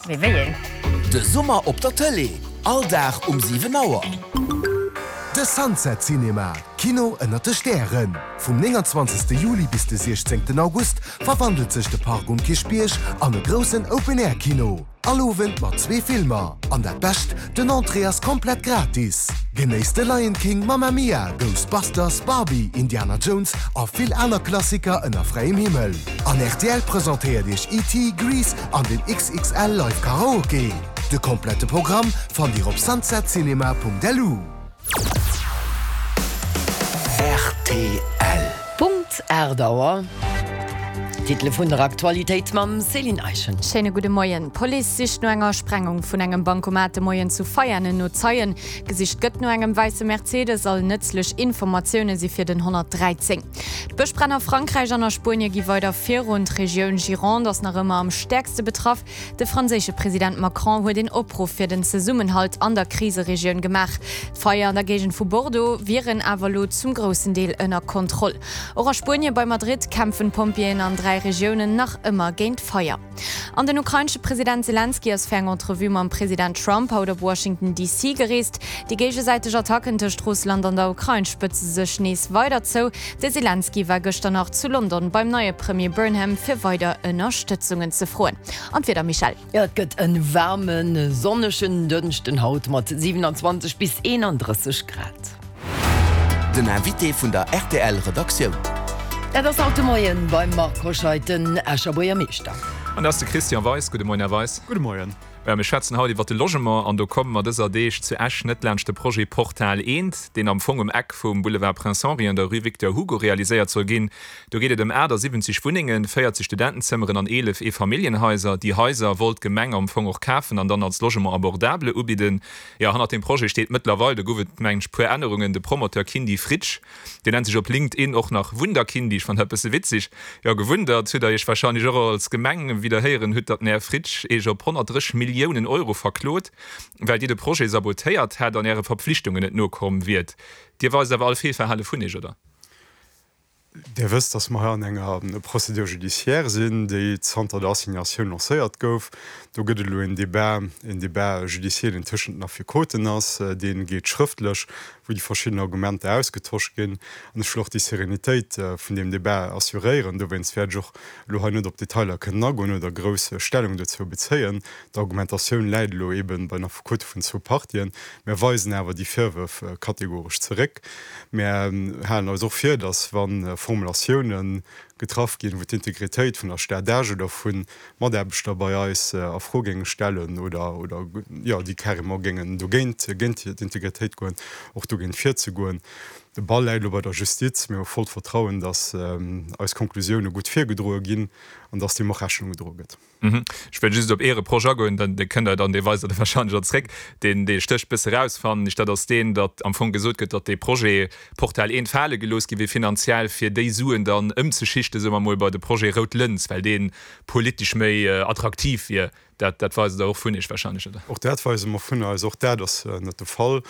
Mee wéi een? De Summer op der Tëlee, all Dag um 7 Auer. De Sunset Cinema, Kino ënnert de Stären. Vum 29. Juli bis de 16. August verwandelt sech de Park um Kierchbierg an e groussen Open-Air Kino. All Owend mat zwee Filmer. An dat Bescht, den Entrée ass komplett gratis! Genéisst de Lion King, Mamma Mia, Ghostbusters, Barbie, Indiana Jones a vill aner Klassiker ënner fräiem Himmel. An rtl presentéiert iech ET, Grease an den XXL Live Karaoke. De komplette Programm fannt dir op sunsetcinema.lu. Rtl. Punkt 8 Auer. D'Titele vun der Aktualitéit mam Céline Eischen. Schéine gudde Moien. D'Police sicht no enger Sprengung vun engem Bancomat de Moien zu Veianen no Zeien. Gesicht gëtt no engem wäisse Mercedes. All nëtzlech Informatioune si fir den 113. D'Bëschbränn a Frankräich an a Spuenie gi weider virun. D'Regioun Gironde ass nach ëmmer am stäerkste betraff. De franséische President Macron huet een Opruff fir den Zesummenhalt an der Kriseregioun gemaach. D'Feier an der Géigend vu Bordeaux wieren awer elo zum groussen Deel ënner Kontroll. Och a Spuenie bei Madrid kämpfen d'Pompjeeën an 3 Regiounen nach ëmmer géint d'Feier. An den ukrainesche President Selenskyj ass fir eng Entrevue mam President Trump haut op Washington DC gereest. Déi géigesäiteg Attacken tëscht Russland an der Ukrain spëtze sech nees weider zou. De Selenskyj war gëschter nach zu London beim neie Premier Burnham fir weider Ënnerstëtzungen ze froen. An d'Wieder, Michèle? Jo, et gëtt en waarme sonnegen Dënschden haut mat 27 bis 31 Grad. Den Invité vun der rtl Redaktioun. Dat ass haut de Moien beim Marc Hoscheid, den Escher Buergermeeschter. An dat ass de Christian Weis. Gudde Moien, Här Weis. Gudde Moien. Mir schwätzen haut iwwer de Logement an do komme mer dëser Deeg zu Esch net laanscht de Projet Portal Eent, deen am Fong um Eck vum Boulevard Prince Henri an der Rue Victor Hugo realiséiert soll ginn. Do geet et ëm 78 Wunnengen, 40 Studentenzëmmeren an 11 Eefamilljenhaiser. Déi Haiser wollt d'Gemeng am Fong och kafen an dann als Logement abordable ubidden. Jo, hannert deem Projet steet mëttlerweil, do gouf et mengen ech puer Ännerungen, de Promoteur Kindy Fritsch. Deen nennt sech op LinkedIn och nach Wunderkindi. Ech fannen dat bësse witzeg. Jo, gewundert hutt der iech wahrscheinlech och als Gemeng, wéi der héieren hutt, datt den Här Fritsch iech op 130 Milliounen Euro verklot, well dir de Projet sabotéiert hätt an äre Verpflichtungen net nokomm wiert. Dir weist awer all Feelverhale vun iech, oder? Dir wësst, dass mer hei an enger Procédure judiciaire sinn, déi zanter der Assignatioun lancéiert gouf. Do gëtt et elo een Débat, een Débat judiciaire, deen tëschent den Affekoten ass. Dee geet schrëftlech, wou déi verschidden Argumenter ausgetosch ginn. An ech wëll och déi Sérénitéit vun deem Débat assuréieren. Dowéinst wäert ech och elo hei net op Detailer kënnen agoen oder grouss Stellung dozou bezéien. D'Argumentatioun läit elo eebe bei den Affekote vun zwou Partien. Mär weisen awer déi Virwërf kategoresch zeréck. Mär halen eis och vir, datt wa Formulatioune getraff ginn, wou d'Integritéit vun der Stad Esch oder vu Mataarbechter bei eis a Fro géinge stellen oder, oder jo, déi carrément géingen dogéint, géint d'Integritéit goen, och dogéint virzegoen. De Ball läit elo bei der Justiz. Mir hu vollt Vertrauen, datt eis Konklusioune gutt virgedroe ginn an datt deem och Rechnung gedroe gëtt. Ech wëll just op ee Reproche agoen, dann dee kënnt Der dann, dee weist Der da wahrscheinlech och zréck, deen dee stécht bësse raus, fannen ech, dat ass deen, datt am Fong gesot gëtt, datt dee Projet Portal I fale gelooss gi wier finanziell, fir déi Suen dann ëmzeschichten, soe mer emol, bei de Projet Rout Lëns, well dee politesch méi attraktiv wier. Dat dat weist Der och vun Iech wahrscheinlech, oder? Och dat weise mer vun eis. Och dat ass net de Fall.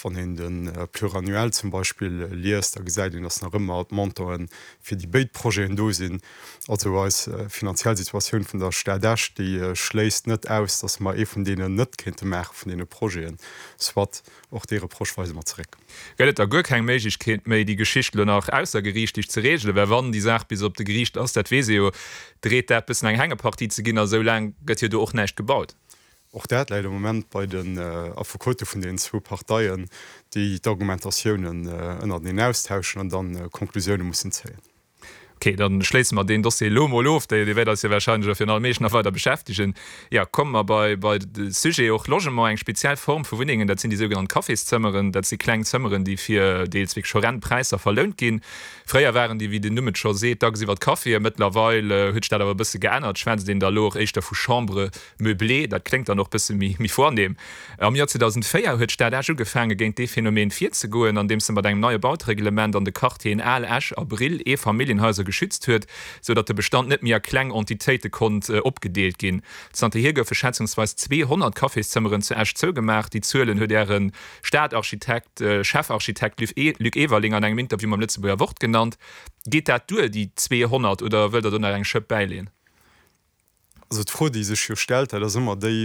Wann een de Pluriannuel zum Beispill liest, da gesäit een, datt nach ëmmer d'Montanten fir déi béid Projeten do sinn. Also eis finanziell Situatioun vun der Stad Esch, déi schléisst net aus, datt mer ee vun deenen net kéinte maache vun deene Projeten. Soit, och dee Reproche weise mer zeréck. Gëtt et da guer keng Méiglechkeet méi, déi Geschicht elo nach aussergeriichtlech ze regelen? Well wann déi Saach bis op de Geriicht ass, dat weess ee jo, dreet dat bëssen eng Hängepartie ze ginn a sou laang gëtt jo do och näischt gebaut. Och dat läit am Moment bei den Affekote vun deenen zwou Parteien, déi d'Argumentatiounen ënnerteneen austauschen an dann Konklusioune mussen zéien. Ok, da schléisse mer deen Dossier elo emol of. Dee wäert eis jo wahrscheinlech och virun allem eescht nach weider beschäftegen. Jo, komme mer bei bei de Sujet och Logement, eng speziell Form vu Wunnengen, dat sinn déi sougenannt Cafészëmmeren. Dat si kleng Zëmmeren, déi fir deels wierklech horrend Präisser verlount ginn. Fréier waren déi, wéi den Numm et scho seet, dacks iwwer d'Caféen. Mëttlerweil huet sech dat awer e bësse geännert, schwätzt een da elo och éischter vu Chambres meublées. Dat kléngt dann och bësse méi méi vornehm. Am Joer 2004 huet d'Stad Esch ugefaange géint dee Phänomen virzegoen, andeems se mat engem neie Bautereglement an de Quartieren Al Esch a Brill Eefamilljenhaiser geschützt huet, sou datt de Bestand net méi a kleng Entitéite konnt opgedeelt ginn. Zanterhier goufe schätzungsweis 200 Cafészëmmeren zu Esch zougemaach. Déi Zuelen huet Äre Stadarchitekt, Chefarchitekt Luc Everling an engem Interview mam Lëtzebuerger Wort genannt. Geet dat duer, déi 200, oder wëllt Der do nach eng Schëpp bäileeën? Also d'Fro, déi sech jo stellt, dat ass ëmmer déi.